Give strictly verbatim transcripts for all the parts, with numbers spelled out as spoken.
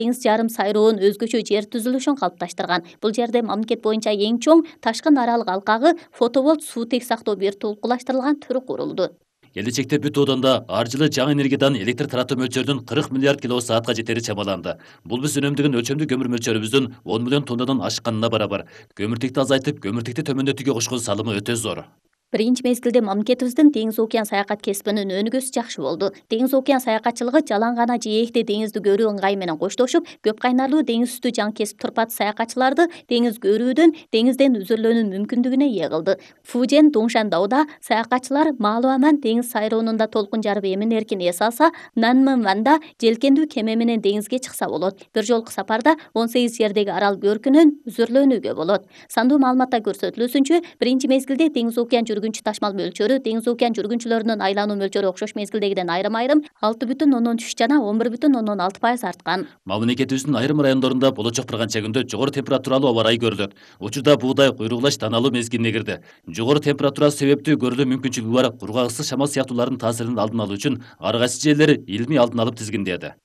деңиз жарым сайроонун өзгөчө жер түзүлүшүн калыпташтырган. Бул жерде мамлекет боюнча эң чоң ташкын аралык алкагы фотоволт суутек сактоо виртуалдуулаштырылган түрү курулду. Келечекте бүт оодонда ар жылы жаңы энергиядан электр таратуу мөлчөрүнүн кырк миллиард киловатт саатка жетери чамаланды. Бул биз үнөмдөгөн өлчөмдүү көмүр мөлчөрүбүздүн он миллион тоннадан ашканына барабар. Көмүртекти азайтып, көмүртекти төмөндөтүүгө кошкон салымы өтө зор. Биринчи мезгилде мамлекетибиздин деңиз океан саякат кесибинин өнүгүүсү жакшы болду. Деңиз океан саякатчылыгы жалаң гана жээкти деңизди көрүү ыңгайы менен коштошуп, көп кайнарлуу деңиз үстү жаңы кесип турпат саякатчыларды деңиз көрүүдөн, деңизден үзүрүлөөнүн мүмкүндүгүнө ээ кылды. Фужен Дуңшандауда саякатчылар Малуаман деңиз сайроонунда толкун жарып эмин эркин эс алса, Нанмэнванда желкендүү кеме менен деңизге чыкса болот. Бир жолку сапарда он сегиз жердеги арал көркүнөн үзүрүлөөнүгө болот. Сандуу маалыматта көрсөтүлүүсүнчө, биринчи мезгилде деңиз океан жүргүнчү ташмал мөлчөрү деңиз океан жүргүнчүлөрүнүн айлануу мөлчөрү окшош мезгилдегиден айрым-айрым алты бүтүн ондон үч жана он бир бүтүн ондон алты пайыз арткан. Мамлекетибиздин айрым райондорунда болочок bir канча күндө жогору температуралуу аба ырайы көрүлөт. Учурда буудай куйругулаш таналуу мезгилине кирди. Жогору температура себептүү көрүлүү мүмкүнчүлүгү бар кургак ысык шамал сыяктуулардын таасиринин алдын алуу үчүн ар кайсы жерлер илмий алдын алып тизгиндеди.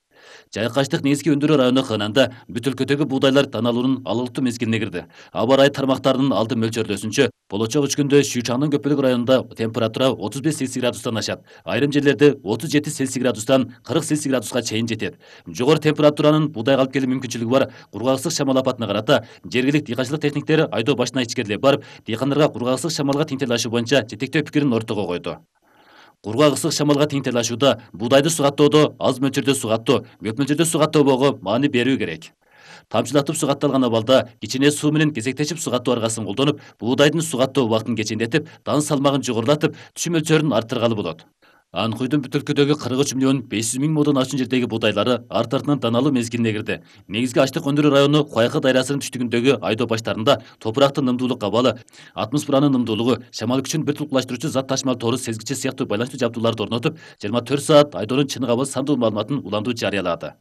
Жайкаштык негизги өндүрүү району Хынанда бүт өлкөдөгү буудайлар таналуунун алыктуу мезгилине кирди. Аба ырайы тармактарынын алды мөлчөрлөөсүнчө, болочок үч күндө Шүйчаңдын көпөлүк районунда температура отуз беш цельсий градустан ашат. Айрым жерлерде отуз жети цельсий градустан кырк цельсий градуска чейин жетет. Жогору температуранын буудайга алып келүү мүмкүнчүлүгү бар кургак ысык шамал апатына карата жергиликтүү дыйканчылык техниктери айдоо башына ичкерилеп барып, дыйкандарга кургак ысык шамалга тең тилашуу боюнча жетектөө пикирин ортого койду. Кургак ысык шамалга тең тилашууда буудайды сугаттоодо аз мөлчөрдө сугаттоо, көп мөлчөрдө сугаттообого маани берүү керек. Тамчылатып сугатталган абалда кичине суу менен кезектешип сугаттоо аргасын колдонуп, буудайдын сугаттоо убактын кечендетип, дан салмагын жогорулатып, түшүм мөлчөрүн арттыргалы болот. Анкуйдун бүт өлкөдөгү кырк үч миллион беш жүз миң модон ашуун жердеги буудайлары арт артынан таналуу мезгилине кирди. Негизги аштык өндүрүү району Куайкы дайрасынын түштүгүндөгү айдоо баштарында топурактын нымдуулук абалы, атмосферанын нымдуулугу, шамал күчүн бир тулкулаштыруучу зат ташмал тору сезгичи сыяктуу байланыштуу жабдууларды орнотуп, жыйырма төрт саат айдоонун чыныгы абалы сандуу маалыматын улантуу жарыялады.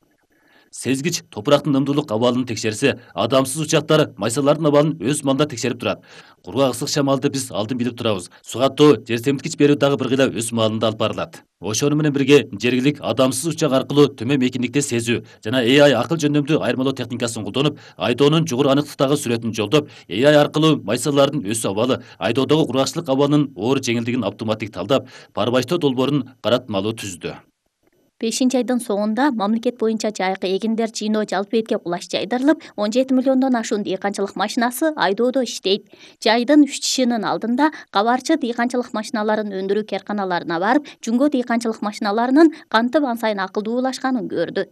Сезгич топурактын нымдуулук абалын текшерсе, адамсыз учактар майсалардын абалын өз маалында текшерип турат. Кургак ысык шамалды биз алдын билип турабыз. Сугаттоо, жер семирткич берүү дагы бир кыйла өз маалында алып барылат. Ошону менен бирге жергилик адамсыз учак аркылуу төмөн мейкиндикте сезүү жана A I акыл жөндөмдүү айырмалоо техникасын колдонуп, айдоонун жогору аныктыктагы сүрөтүн жолдоп, A I аркылуу майсалардын өсүү абалы, айдоодогу кургакчылык абалынын оор жеңилдигин автоматтик талдап, парбаштоо долбоорун каратмалуу түздү. бешинчи айдын соңунда мамлекет боюнча жайкы эгиндер жыйноо жалпы бетке кулаш жайдырылып, он жети миллиондон ашуун дыйканчылык машинасы айдоодо иштейт. Жайдын үчтүшүнүн алдында кабарчы дыйканчылык машиналарын өндүрүү керканаларына барып, жүнгө дыйканчылык машиналарынын кантип ансайын акылдуулашканын көрдү.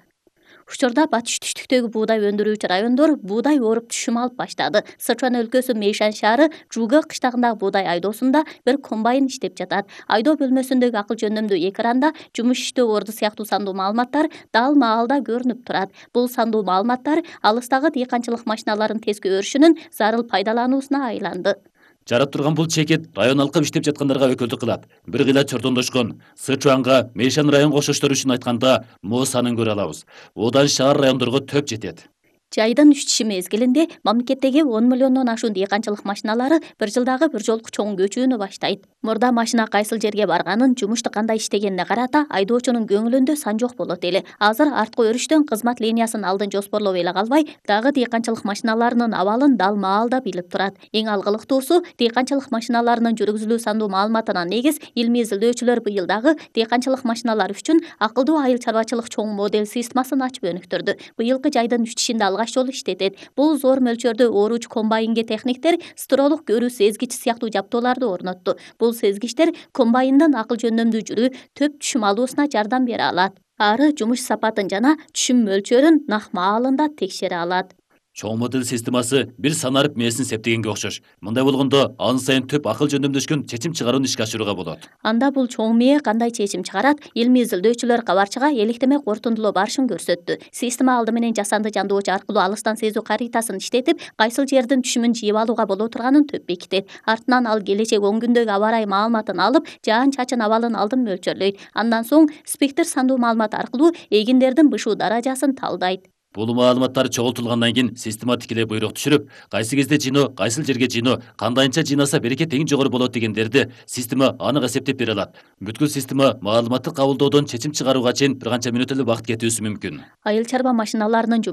Учурда батыш түштүктөгү буудай өндүрүүчү райондор буудай оруп түшүм алып баштады. Сычуан өлкөсү Мейшан шаары Жуга кыштагындагы буудай айдоосунда бир комбайн иштеп жатат. Айдоо бөлмөсүндөгү акыл жөндөмдүү экранда жумуш иштөө орду сыяктуу сандуу маалыматтар дал маалда көрүнүп турат. Бул сандуу маалыматтар алыстагы дыйканчылык машиналарын тезге өрүшүнүн зарыл пайдалануусуна айланды. Жарап турган бул чекет район алкып иштеп жаткандарга өкүлдүк кылат. Бир кыйла чордондошкон Сычуанга, Мейшан район кошоштор үчүн айтканда мо санын көрө алабыз. Одан шаар райондорго төп жетет. Жайдын үчтүшү мезгилинде мамлекеттеги он миллиондон ашуун дыйканчылык машиналары бир жылдагы бир жолку чоң көчүүнү баштайт. Мурда машина кайсыл жерге барганын, жумушту кандай иштегенине карата айдоочунун көңүлүндө сан жок болот эле. Азыр арткы өрүштөн кызмат линиясын алдын жоспорлоп эле калбай, дагы дыйканчылык машиналарынын абалын дал маалда билип турат. Эң алгылыктуусу, дыйканчылык машиналарынын жүргүзүлүү сандуу маалыматына негиз илмий изилдөөчүлөр быйыл дагы дыйканчылык машиналары үчүн акылдуу айыл чарбачылык чоң модель системасын ачып өнүктүрдү. Быйылкы жайдын үчтүшүндө алгаш жолу иштетет. Бул зор мөлчөрдө ооруч комбайнге техниктер стролук көрүү сезгич сыяктуу жабдууларды орнотту. Бул сезгичтер комбайндын акыл жөндөмдүү жүрүү, төп түшүм алуусуна жардам бере алат. Ары жумуш сапатын жана түшүм мөлчөрүн нак маалында текшере алат. Чоң модель системасы бир санарып мээсин септегенге окшош. Мындай болгондо ан сайын төп акыл жөндөмдөшкөн чечим чыгарууну ишке ашырууга болот. Анда бул чоң мээ кандай чечим чыгарат? Илмий изилдөөчүлөр кабарчыга электеме корутундулоо барышын көрсөттү. Система алды менен жасанды жандоочу аркылуу алыстан сезүү каритасын иштетип, кайсыл жердин түшүмүн жыйып алууга боло турганын төп бекитет. Артынан ал келечек он күндөгү аба ырайы маалыматын алып, жаан-чачын абалын алдын мөлчөрлөйт. Андан соң спектр сандуу маалымат аркылуу эгиндердин бышуу даражасын талдайт. Бул маалыматтар чогултулгандан кийин система тикелей буйрук түшүрүп, кайсы кезде жыйноо, кайсыл жерге жыйноо, кандайынча жыйнаса берекет эң жогору болот дегендерди система анык эсептеп бере алат. Бүткүл система маалыматты кабылдоодон чечим чыгарууга чейин бир канча мүнөт эле убакыт кетүүсү мүмкүн. Айыл чарба машиналарынын жумуш